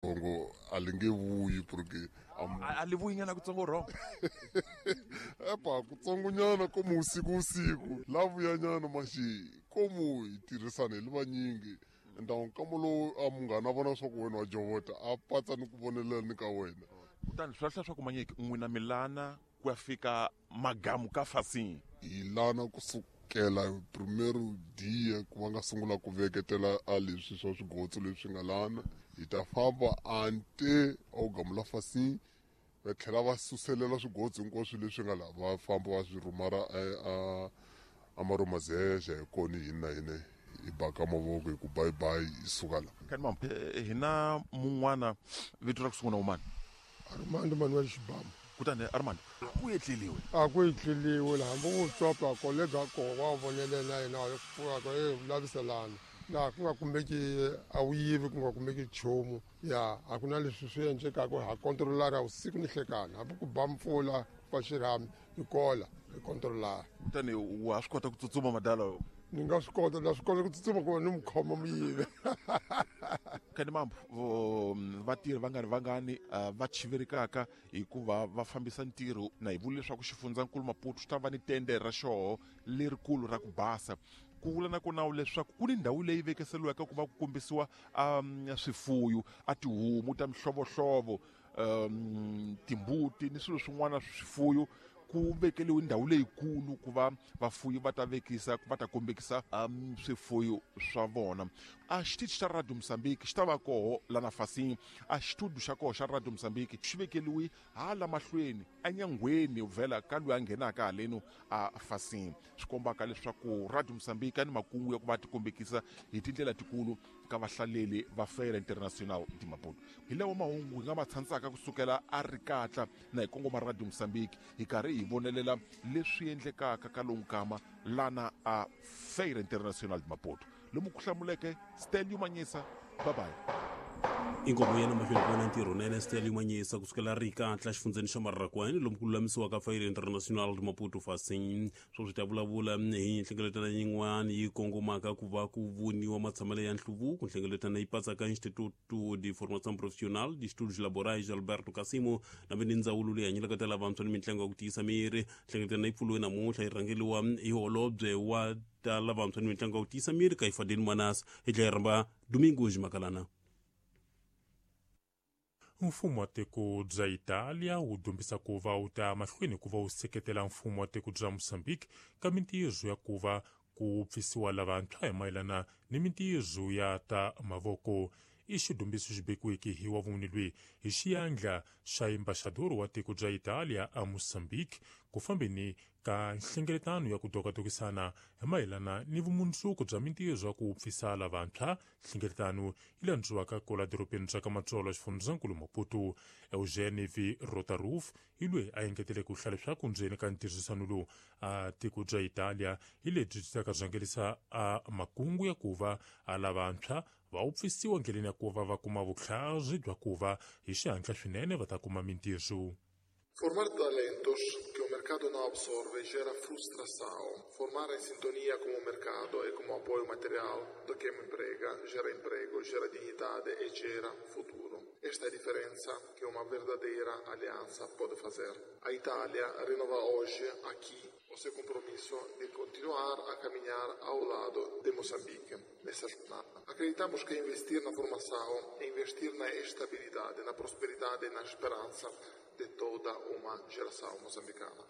Rhongo a li nge vuyi porque a li vuyi nyana kutsongo rhongo. Epa kutsongonyana komu usiku usiku la vuyanyana maxi komu hi tirhisana hi li vanyingi ndhawu nkamo lowu a munghana a vona swa ku wena wa jovota a patsa ni ku vonelela ni ka wena. Kutani swi lahla swa ku manyiki n'wina milana ku ya fika magamu ka fasini. Hi lana kusukela primero dia ku va nga sungula ku veketela a leswi swa swigotso leswi nga lana hi ta famba ante a wu gamula fasini va tlhela va suselela swigotso hinkwaswo leswi nga laha va famba va swi rhumara a maromazeja hi kona hini na hina hi baka mavoko hi ku bye bye hi suka la. Kani hina mun'wana vito ra ku sungula umani Armando Manuel Xibamu. Kutani Armando ku etleliwe a ku etleliwe la hambi ku tswapa kolega ko wa vonelela yena wa pfuka ko e laviselana laha ku nga kumeki a wu yivi ku nga kumeki nchumu ya a ku na leswi swi endlekaka ha kontrolara vusiku ni hlekana hambi ku ba mpfula fa xirhami hi kola hi kontrolara. Kutani wa swi kota ku tsutsuma madala? Ni nga swi kota, na swi kota ku tsutsuma ku va ni mu khoma muyivi. Kani mambo vatirhi vangani vangani va chiverikaka hikuva va fambisa ntirho na hi vula leswaku xifundzankulu Maputo xi ta va ni tende ra xoho lerikulu ra ku basa. Ku vula na kona leswaku ku ni ndhawu leyi vekiseriweke ku va ku kombisiwa swifuyo a tihomu ta mihlovohlovo, timbuti ni swilo swin'wana swifuyo ku vekeliwe ndhawu leyikulu ku va vafuyi va ta vekisa va ta kombekisa swifuyo swa vona. A xitichi xa Radio Mozambique xi ta va koho lana fasini. A xitudio xa koho xa Radio Mozambique xi vekeliwe hala mahlweni enyangweni vhela ka loyi a nghenaka haleno a fasini, swi kombaka leswaku Radio Mozambique ni makungu ya ku va tikombekisa hi tindlela tikulu ka vahlaleli va Feira Internacional de Maputo. Hi lawa mahungu hi nga ma tshandzaka kusukela a Rikatla na hi kongoma Radio Mozambique hi karhi hi vonelela leswi endlekaka ka lowu nkama lana a Feira Internacional de Maputo. Lomu ku hlamuleke Stelio Manyisa. Bye bye. Inkomo yena mahlweni ku va na ntirho nene Stelio Manyisa kusukela Rikatla xifundzeni xa Mararakwani lomu ku lulamisiwaka Feira Internacional de Maputo fasini. Swo swi ta vulavula hi nhlengeletano yin'wana yi kongomaka ku va ku voniwa matshamelo ya nhluvuko. Nhlengeletano yi patsaka Instituto de Formação Profissional de Estudos Laborais Alberto Cassimo na ni ndzawulo leyi hanyelaka ta lavantshwa ni mintlangu ya ku tiyisa miri. Nhlengeletano yi pfuriwe namuntlha yi rhangeriwa hi holobye wa ta lavantshwa ni mintlangu ya ku tiyisa miri Kaifadeni Manas hi tlhela yi rhamba Domingos Makalana. Mfumo wa tiko bya Italia wu dyondzisa ku va wu ta mahlweni ku va wu seketela mfumo wa tiko bya Mozambique ka mintirho ya ku va ku pfisiwa lavantshwa hi mayelana ni mintirho ya ta mavoko. I xidyondziso xi vekiweke hi wa vumune loyi hi xiyandla xa embaxador wa tiko bya Italia a Mozambique ku fambeni ka nhlengeletano ya ku dokadokisana hi mayelana ni vumundzuku bya mintirho ya ku pfisa lavantshwa. Nhlengeletano yi landziwaka kola dorobeni ra ka Matsolo xifundzankulu Maputo. Eugene V Rotaruf hi loyi a engetele ku hlaya leswaku ndzeni ka ntirhisano lowu a tiko bya Italia hi lebyi byi taka rhangelisa a makungu ya ku va a lavantshwa va wu pfisiwa ndleleni ya ku va va kuma vutlhari bya ku va hi xihatla swinene va ta kuma mintirho. Formar talentos que o mercado não absorve gera frustração. Formar em sintonia com o mercado e com o apoio material do que emprega, gera emprego, gera dignidade e gera futuro. Esta é a diferença que uma verdadeira aliança pode fazer. A Itália renova hoje, aqui, o seu compromisso de continuar a caminhar ao lado de Moçambique nessa jornada. Acreditamos que investir na formação é investir na estabilidade, na prosperidade e na esperança de toda uma geração moçambicana.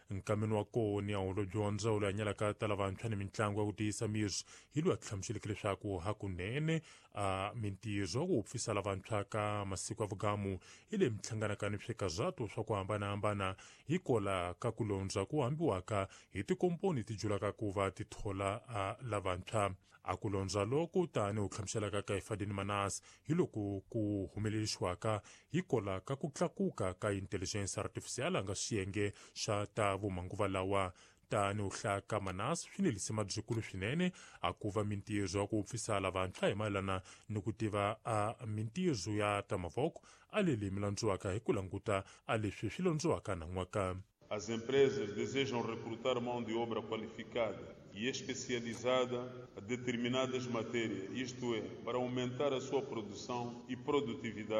Nkameni wa kona ya holobye wa ndzawulo ya nyalaka ta lavantshwa ni mitlangu ya ku tiyisa miri hi loyi a hlamuseleke leswaku hakunene a mintirho ya ku pfisa lavantshwa ka masiku ya vugamu hi leyi mihlanganaka ni swikazato swa ku hambanahambana hi kola ka ku londza ku hambiwaka hi tikomponi ti julaka ku va ti thola a lavantshwa. A ku londza loko tani u hlamuselaka ka Ifadini Manas hi loko ku humelerisiwaka hi kola ka ku tlakuka ka intelligence artificial nga xiyenge xa ta vumanguva lawa. Tani u hlaya ka Manas swi ni lisima byikulu swinene a ku va mintirho ya ku pfisa lavantshwa hi mayelana ni ku tiva a mintirho ya ta mavoko a leli mi landziwaka hi ku languta a leswi swi londziwaka nan'waka. As empresas desejam recrutar mão de obra qualificada e especializada a determinadas matérias, isto é, para aumentar a sua produção e produtividade.